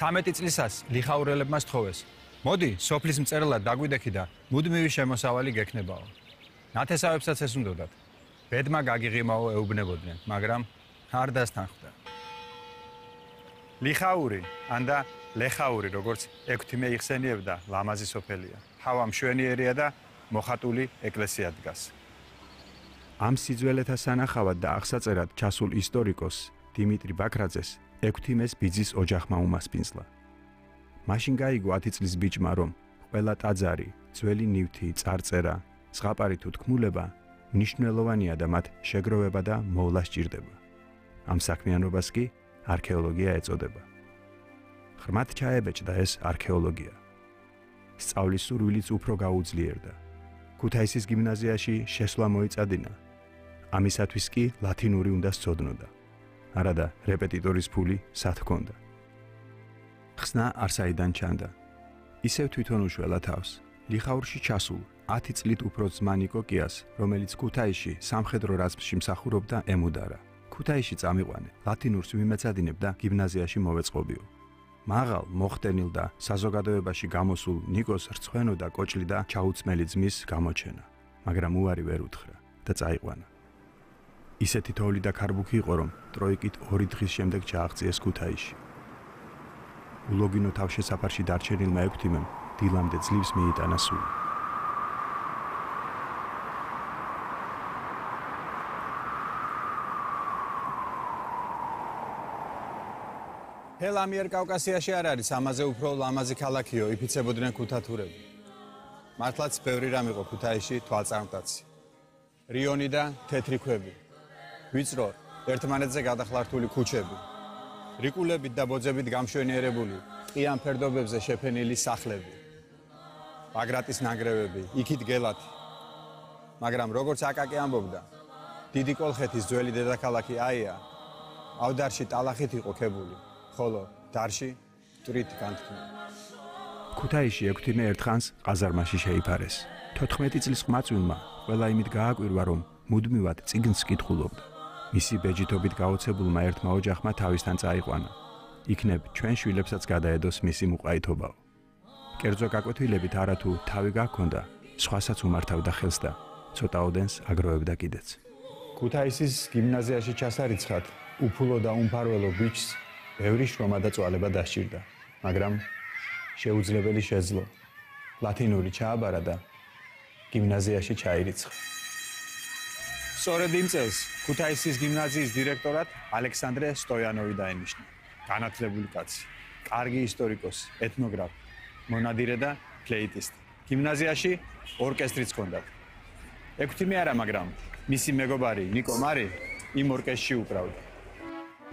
13 წლისას ლიხაურელებმა სთხოვეს. მოდი, სოფლის მწერლად დაგვიდექი და მუდმივი შემოსავალი გექნებაო. ნათესავებსაც ეს უნდოდათ. ბედმა გაგიღიმაო ეუბნებოდნენ, მაგრამ არ დასთანხმდა. ლიხაური, ანდა ლეხაური, როგორც ექვთიმე იხსენიებდა, ლამაზი სოფელია. ჰავა მშვენიერია და მოხატული ეკლესია დგას. ამ სიძველეთა სანახავად და აღსაწერად ჩასულ ისტორიკოს დიმიტრი ბაქრაძეს ექვთიმეს ბიძის ოჯახმა უმასპინძლა. მაშინ გაიგო 10 წლის ბიჭმა, რომ ყველა ტაძარი, ძველი ნივთი, წარწერა, ზღაპარი თუ თქმულება მნიშვნელოვანია და მათ შეგროვება და მოვლა სჭირდება. ამ საქმიანობას კი არქეოლოგია ეწოდება. ღრმად ჩაებეჭდა ეს არქეოლოგია. სწავლის სურვილიც უფრო გაუძლიერდა. ქუთაისის გიმნაზიაში შესვლა მოიწადინა. ამისათვის კი ლათინური უნდა სცოდნოდა. არადა რეპეტიტორის ფული სად ჰქონდა. ხსნა არსაიდან ჩანდა. ისევ თვითონ უშველა თავს. ლიხაურში ჩასულ 10 წლით უფრო ძმა ნიკოკიას, რომელიც ქუთაისში სამხედრო რაზმში მსახურობდა, ემუდარა. ქუთაისში წამიყვანე, ლათინურს ვიმეცადინებ და გიმნაზიაში მოვეწყობიო. მაღალ, მოხდენილ და საზოგადოებაში გამოსულ ნიკოს რცხვენოდა კოჭლი და ჩაუცმელი ძმის გამოჩენა, მაგრამ უარი ვერ უთხრა და წაიყვანა. ისეთი თოვლი და ქარბუქი იყო, რომ ტროიკით 2 დღის შემდეგ ჩააღწიეს ქუთაისში. ულოგინო თავშესაფარში დარჩენილმა ექვთიმემ დილამდე ძლივს მიიტანა სული. ჰელ ამიერკავკასიაში არ არის ამაზე უფრო ლამაზი ქალაქიო, იფიცებოდნენ ქუთათურები. მართლაც ბევრი რამ იყო ქუთაისში თვალწარმტაცი. რიონი და თეთრი ქვები. ვიწრო, ერთმანეთზე გადახლართული ქუჩები. რიკულებით და ბოძებით გამშვენიერებული, ყიან ფერდობებზე შეფენილი სახლები. ბაგრატის ნანგრევები, იქით გელათი. მაგრამ როგორც აკაკი ამბობდა, დიდი კოლხეთის ძველი დედაქალაქი აია, ავდარში ტალახით იყო ქებული. ხოლო დარში მტვრით განთქმული. ქუთაისში ექვთიმე ერთხანს ყაზარმაში შეიფარეს. 14 წლის ყმაწვილმა ყველა იმით გააკვირვა, რომ მუდმივად წიგნს კითხულობდა. მისი ბეჯითობით გაოცებულმა ერთმა ოჯახმა თავისთან წაიყვანა. იქნებ ჩვენ შვილებსაც გადაედოს მისი მუყაითობაო. კერძო გაკვეთილებით არათუ თავი გაქონდა, სხვასაც უმართავდა ხელს და ცოტაოდენს აგროვებდა კიდეც. ქუთაისის გიმნაზიაში ჩასარიცხად უფულო და უმფარველო ბიჭს ბევრი შრომა და წვალება დასჭირდა, მაგრამ შეუძლებელი შეძლო. ლათინური ჩააბარა და გიმნაზიაში ჩაირიცხა. სწორედ იმ წელს ქუთაისის გიმნაზიის დირექტორად ალექსანდრე სტოიანოვი დაენიშნა. განათლებული კაცი, კარგი ისტორიკოსი, ეთნოგრაფი, მონადირე და ფლეიტისტი. გიმნაზიაში ორკესტრიც ჰქონდათ. ექვთიმე არა, მაგრამ მისი მეგობარი ნიკო მარი იმ ორკესტრში უკრავდა.